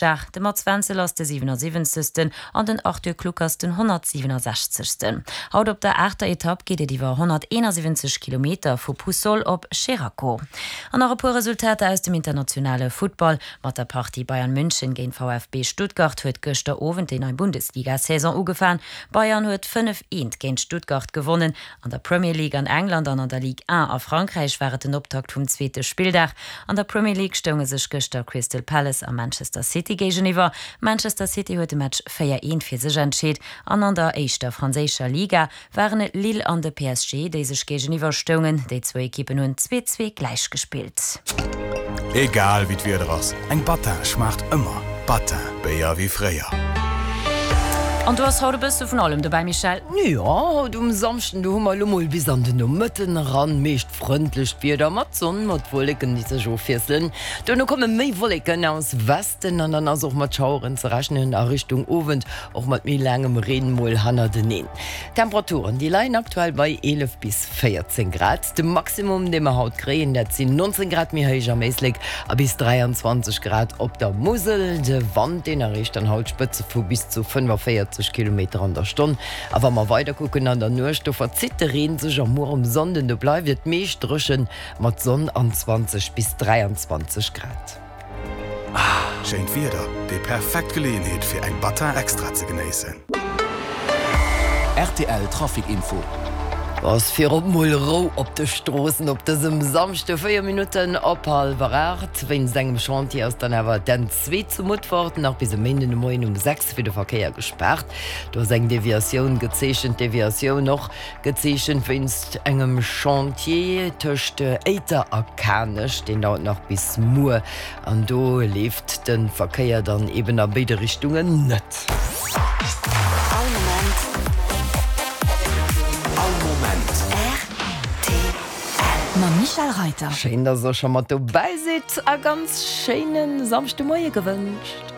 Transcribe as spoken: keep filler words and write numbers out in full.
De Mats Wenzel ass de siwenasiwwenzegsten an den Arthur Kluckers den honnertsiwenasechzegsten. Haut op der aachter Etapp geet et iwwer honnerteenasiwwenzeg Kilometer vu Puçol op Xeraco. An nach e puer Resultater aus dem internationale Futtball, Mat der Partie Bayern München géint VfB Stuttgart huet gëschter Owend déi nei Bundesliga-Saison ugefaang. Bayern huet fënnef, eent géint Stuttgart gewonnen. An der Premier League an England an an der Ligue un a Frankräich war et den Optakt vum zweete Spilldag. An der Premier League stounge sech gëschter Crystal Palace a Manchester City géigeniwwer. Manchester City huet de Match véier, eent fir sech entscheet an an der éischter franséischer Liga waren et Lille an de P S G, déi sech géigeniwwer stoungen. Déi zwou Ekippen hunn zwee, zwee gläich gespillt. Egal wéi d'Wieder ass, eng Battin schmaacht ëmmer. Battin, Béier wéi fréier. An do ass haut e bësse vun allem dobäi, Michèle. Jo, haut um Samschden, do hu mer elo mol bis an den Nomëtten eran meescht frëndlecht Wieder mat Sonn, mat Wolleken, déi sech ofwiesselen. Duerno komme méi Wolleken aus Westen an dann ass och mat Schaueren ze rechnen a Richtung Owend och mat méi laangem Reen mol hannerteneen. D'Temperaturen, déi leien aktuell bei eelef bis véierzéng Grad. De Maximum, dee mer haut kréien, dat sinn nonzéng Grad méi héich am Éislek a bis dräianzwanzeg Grad op der Musel. De Wand, deen erreecht dann haut Spëtze vu bis zu fënnefaféierzeg Kilometer an der Stonn. A wa mer weider kucken an der Nuecht, do verzitt de Reen sech a muer um Sonnden, do bleift et meescht dréchen mat Sonn an zwanzeg bis dräianzwanzeg Grad. Schéint Wieder, déi perfekt Geleeënheet fir eng Battin Extra ze genéissen. Rtl Trafic Info. Ass virop mol Rou op de Stroossen op dësem Samschde, véier Minutten op hallwer aacht. Wéinst engem Chantier ass dann awer d'N zwee zu Mutfert nach bis e Méinden de Moien um sechs fir de Verkéier gespaart. Do ass eng Deviatioun gezeechent, Deviatioun och gezeechent wéinst engem Chantier tëscht Éiter a Kanech, deen dauert nach bis muer an do leeft de Verkéier dann eben a béide Richtungen net. All Moment. All Moment. R T L mam Michèle Reiter. Schéin, dass der scho mat dobäi sidd a ganz schéine Samschdemoie gewënscht.